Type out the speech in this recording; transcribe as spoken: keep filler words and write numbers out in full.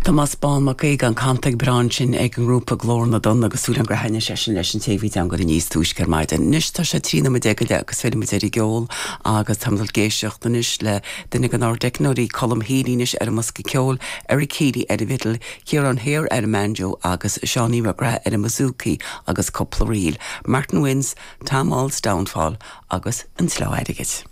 Tomás Bán Mac Aoidh an cantaigh breá sin ag an ngrúpa Glór na dTonn agus súil agam gur thaitnigh sé sin leis an té a bhí teanga níos túisce ar maidin. Anois tá sé trí nóiméad déag go leath agus fillfimid ar an gceol agus táimid ag éisteacht anois le duine den ár dteicneoirí Colm Healy anois ar an mbosca ceoil, Eric Healy ar an bhfidil, Ciarán Hare ar an mbanjo agus Seánie McGrath ar an mbouzouki agus cúpla ríl. Martin Wynne's, Tom All's Downfall agus an tSlá Airgid.